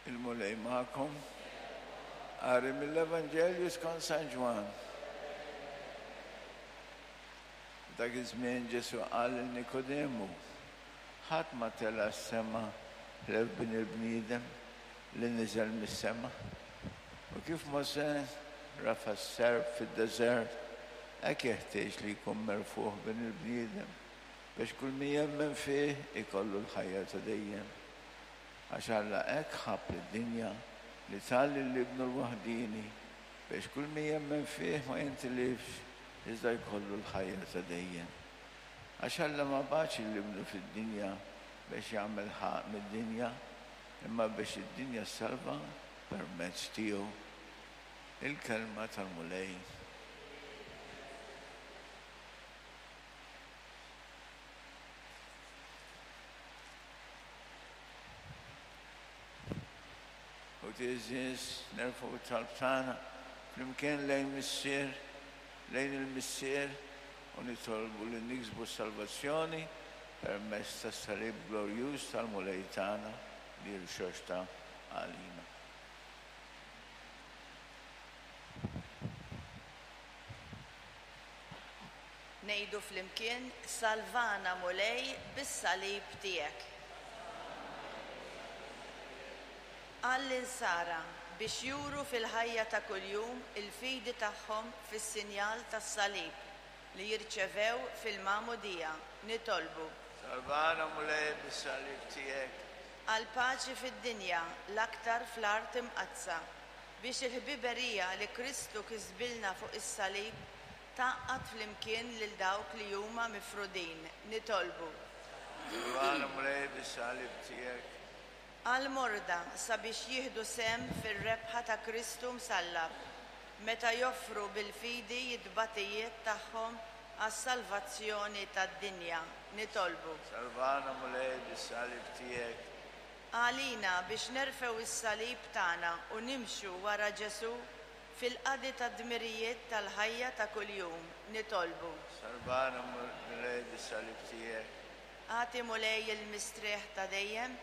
Il-Mulej magħkom. Qari mill-Evanġelju skont San Ġwann. F'dak iż-żmien Ġesù qal lil Nikodemu, Ħadd ma tela' s-sema ħlief Bin il-bniedem li niżel mis-sema. U kif Mosè rafa' s-serp fid-deżert, hekk jeħtieġ li jkun merfugħ Bin il-bniedem, biex kull min jemmen fih ikollu l-ħajja ta' dejjem. Għax Alla hekk ħabb lid-dinja li ta lil Ibnu l-waħdieni, biex kull min jemmen fih ma jintilifx iżda jkollu l-ħajja ta' dejjem. Għax Alla ma bagħatx lil Ibnu fid-dinja biex jagħmel ħaqq mid-dinja, imma biex id-dinja ssalva permezz tiegħu. Il-Kelma tal-Mulej. U tiżis nerfgħu t-talb tagħna flimkien lejn Missier, lejn il-Missier u nitolbu li niksbu s-salvazzjoni permezz tas-salib glorjuż tal-Mulej tagħna li rxoxta għalina. Ngħidu flimkien, Salvana Mulej bis-salib tiegħek. Għall-Insara, biex juru fil-ħajja ta' kuljum il-fidi tagħhom fis-sinjal tas-salib li jirċevew fil-Magħmudija, nitolbu. Salvana Mulej bis-salib tiegħek. Għall-paċi fid-dinja, l-aktar fl-Art Imqaddsa, biex il-ħbiberija li Kristu kisbilna fuq is-salib Tgħaqqad flimkien lil dawk li huma mifrudin, nitolbu. Salvana Mulej bis-salib tiegħek. Għall-morda sabiex jieħdu sehem fir-rebħa ta' Kristu msallab, meta joffru bil-fidi t-tbatijiet tagħhom għas-salvazzjoni tad-dinja, nitolbu. Salvana Mulej bis-salib tiegħek. Għalina biex nerfgħu s-salib tagħna u nimxu wara Ġesù Fil-qadi tad-dmirijiet tal-ħajja ta' kuljum, nitolbu. Salvana, Mulej, bis-salib tiegħek. Agħti, Mulej, il-mistrieħ ta' dejjem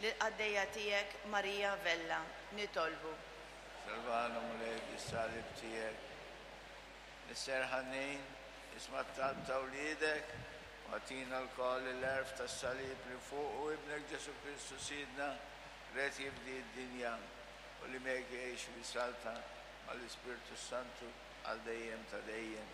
lill-qaddejja tiegħek Maria Vella, nitolbu. Salvana, Mulej, bis-salib tiegħek. Missier ħanin, isma' t-talb ta' wliedek u agħtina lkoll il-għerf tas-salib li fuqu Ibnek Ġesù Kristu Sidna ried jifdi d-dinja. U li miegħek jgħix u jsaltan mal-Ispirtu s-Santu għal dejjem ta' dejjem.